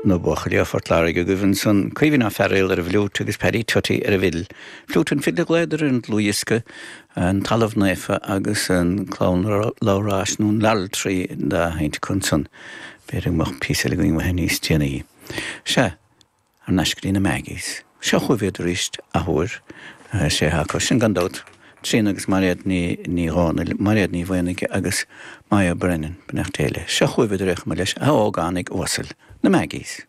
Na buachaillí ó Phort Láirge agaibh ansan, Caoimhín Ó Fearghaíl ar an bhfliúit agus Paddy Tutty ar an bhfidil. Fliúit and Fidil a ghlaodar ar an dlúthdhiosca, An Talamh Naofa agus an Clann Labhráis nó an Laurel Tree an dá sheinnte acu ansan. B'fhéidir go mbeadh píosa eile againn uathu níos déanaí. Sea. Thar n-ais go dtí na Maggies. Seo chugaibh iad arís athuair. Sé atá acu sin gan dabht, Tríona agus Mairéad Ní Dhomhnaill, Mairéad Ní Mhaonaigh agus Moya Brennan, beannacht Dé léi. Seo chugaibh iad ar aon chuma leis, a ógánaigh uasail, na Maggies.